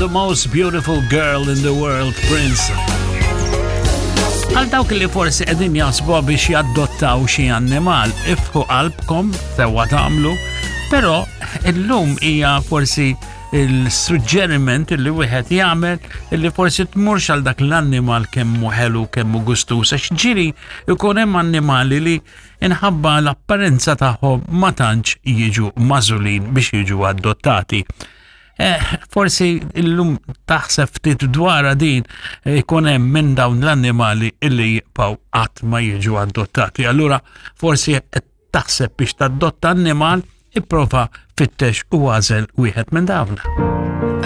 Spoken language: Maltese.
The Most Beautiful Girl in the World, Prince. Għal dawk li forsi qegħdin jaħsbu biex jaddottaw xi annimal, ifħu qalbkom sewwa tagħmlu, però illum hija forsi il-suġġeriment li wieħed jagħmel li forsi tmurx għal dak l-annimal kemm hu ħelu kemm hu gustuż għax ġiri jkun hemm annimali li inħabba l-apparenza tagħhom ma tantx jiġu magħżulin biex jiġu adottati. Eh, forsi illum taħseb ftit dwar din eh, ikun hemm minn dawn l-annimali illi jibqgħu qatt ma jiġu adottati. Allura forsi qed taħseb biex tadotta annimal, ipprova fittex u għażel wieħed minn dawn.